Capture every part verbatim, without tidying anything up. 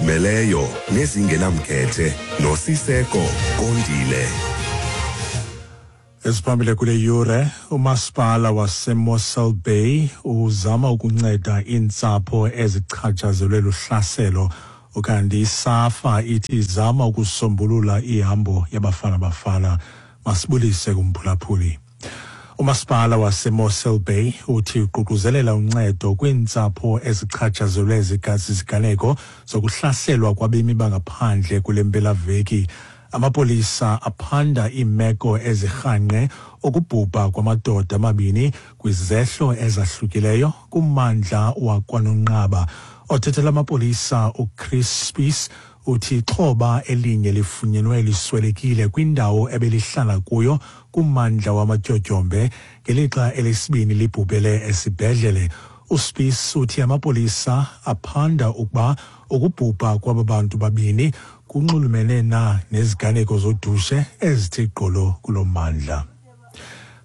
Ezizimeleyo nezingenamkhethe noSiseko Kondile. Esiphambili kule yure, umasipala waseMossel Bay uzama ukunceda iintsapho ezichatshazelwe luhlaselo, ukanti iSAFA ithi izama ukusombulula ihambo yaBafana Bafana. Masibulise kumphulaphuli. Umasipala waseMossel Bay uthi uququzelela uncedo kwiintsapho ezichatshazelwe ziziganeko zokuhlaselwa kwabemi bangaphandle kule mpelaveki. Amapolisa aphanda iimeko ezirhanqe ukubhubha kwamadoda amabini kwizehlo ezahlukileyo kummandla wakwaNonqaba. Othethela amapolisa uChris Spies uthi ixhoba elinye lifunyenwe liswelekile kwindawo ebelihlala kuyo kummandla wamatyotyombe, ngelixa elesibini libhubhele esibhedlele. USpies uthi amapolisa aphanda ukuba ukubhubha kwaba bantu babini kunxulumene na neziganeko zodushe ezithi gqolo kulo mmandla.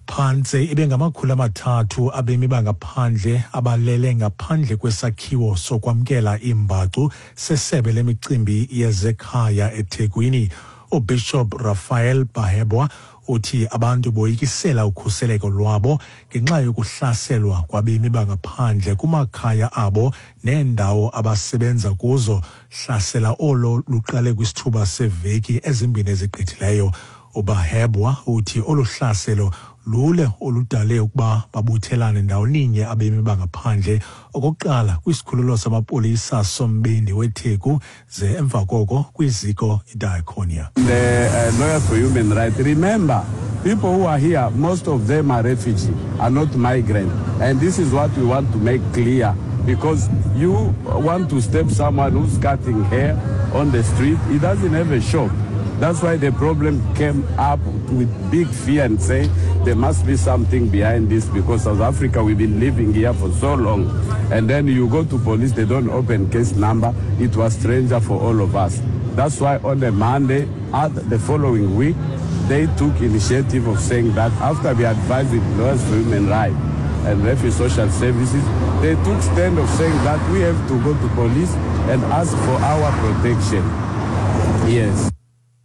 Phantse ibe ngamakhulu amathathu abemi bangaphandle abalele ngaphandle kwesakhiwo sokwamkela iimbacu sesebe lemicimbi yezekhaya eThekwini. UBishop Raphael Bahebwa uthi abantu boyikisela ukhuseleko lwabo ngenxa yokuhlaselwa kwabemi bangaphandle kumakhaya abo neendawo abasebenza kuzo. Hlasela olo luqale kwisithuba seveki ezimbini ezigqithileyo. UBahebwa uthi olu hlaselo lule oludale ukuba babuthelane ndawoninye abemi bangaphandle okokuqala kwisikhululo samapolisa sombindi weTheku, ze emva koko kwiziko iDiakonia. The uh, Lawyers for Human Rights, remember, people who are here, most of them are refugees, are not migrants. And this is what we want to make clear, because you want to step someone who's cutting hair on the street, he doesn't have a shop. That's why the problem came up with big fear and say there must be something behind this, because South Africa, we've been living here for so long. And then you go to police, they don't open case number. It was stranger for all of us. That's why on the Monday, at the following week, they took initiative of saying that after we advised with Lawyers for Human Rights and Refugee Social Services, they took stand of saying that we have to go to police and ask for our protection. Yes.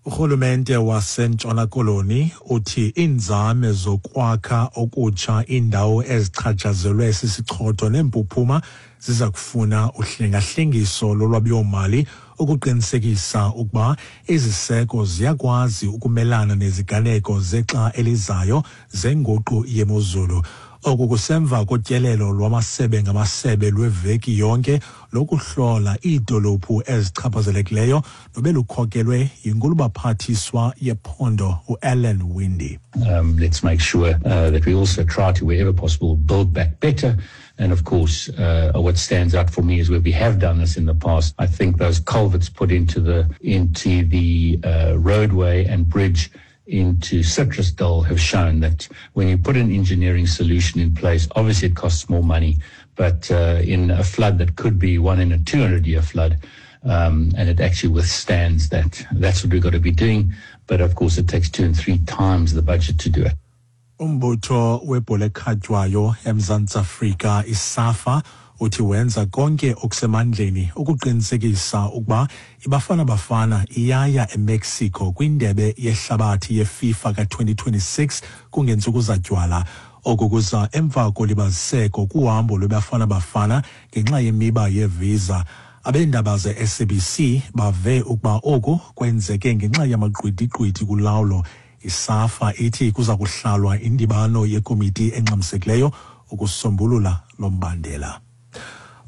Urhulumente waseNtshona Koloni uthi iinzame zokwakha okutsha iindawo ezichatshazelwe sisichotho neempuphuma ziza kufuna uhlengahlengiso lolwabiwomali ukuqinisekisa ukuba iziseko ziyakwazi ukumelana neziganeko zexa elizayo zenguqu yemozulu. Oku kusemva kotyelelo lwamasebe ngamasebe lweveki yonke lokuhlola iidolophu ezichaphazelekileyo nobelukhokelwe yinkulubaphathiswa yephondo uAllan Winde. Um, let's make sure uh, that we also try to, wherever possible, build back better. And of course, uh, what stands out for me is where we have done this in the past. I think those culverts put into the, into the uh, roadway and bridge into Citrusdal have shown that when you put an engineering solution in place, obviously it costs more money, but uh, in a flood that could be one in a two hundred year flood, um, and it actually withstands that. That's what we've got to be doing. But of course, it takes two and three times the budget to do it. Umbutho webhola ekhatywayo eMzantsi Afrika iSAFA uthi wenza konke okusemandleni ukuqinisekisa ukuba iBafana Bafana iyaya eMexico kwindebe yehlabathi yeFIFA ka twenty twenty-six kungentsuku zatywala. Oku kuza emva kolibaziseko kuhambo lweBafana Bafana ngenxa yemiba yevisa. Abeendaba ze-S A B C bave ukuba oku kwenzeke ngenxa yamagqwidigqwidi kulawulo. ISAFA ithi kuza kuhlalwa indibano yekomiti engxamisekileyo ukusombulula lo mbandela.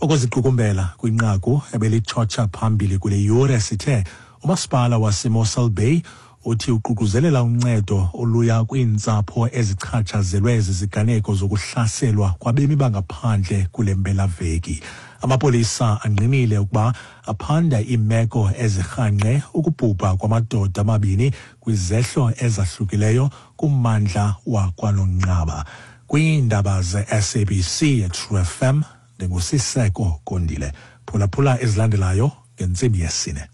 Ukuziqukumbela kwinqaku ebelitshotsha phambili kule yure, sithe umasipala waseMossel Bay uthi uququzelela uncedo oluya kwiintsapho ezichatshazelwe ziziganeko zokuhlaselwa kwabemi bangaphandle kule mpelaveki. Amapolisa angqinile ukuba aphanda iimeko ezirhanqe ukubhubha kwamadoda amabini kwizehlo ezahlukileyo kummandla wakwaNonqaba. Kwiindaba ze-S A B C True F M, ndinguSiseko Kondile. Phulaphula ezilandelayo ngentsimbi yesine.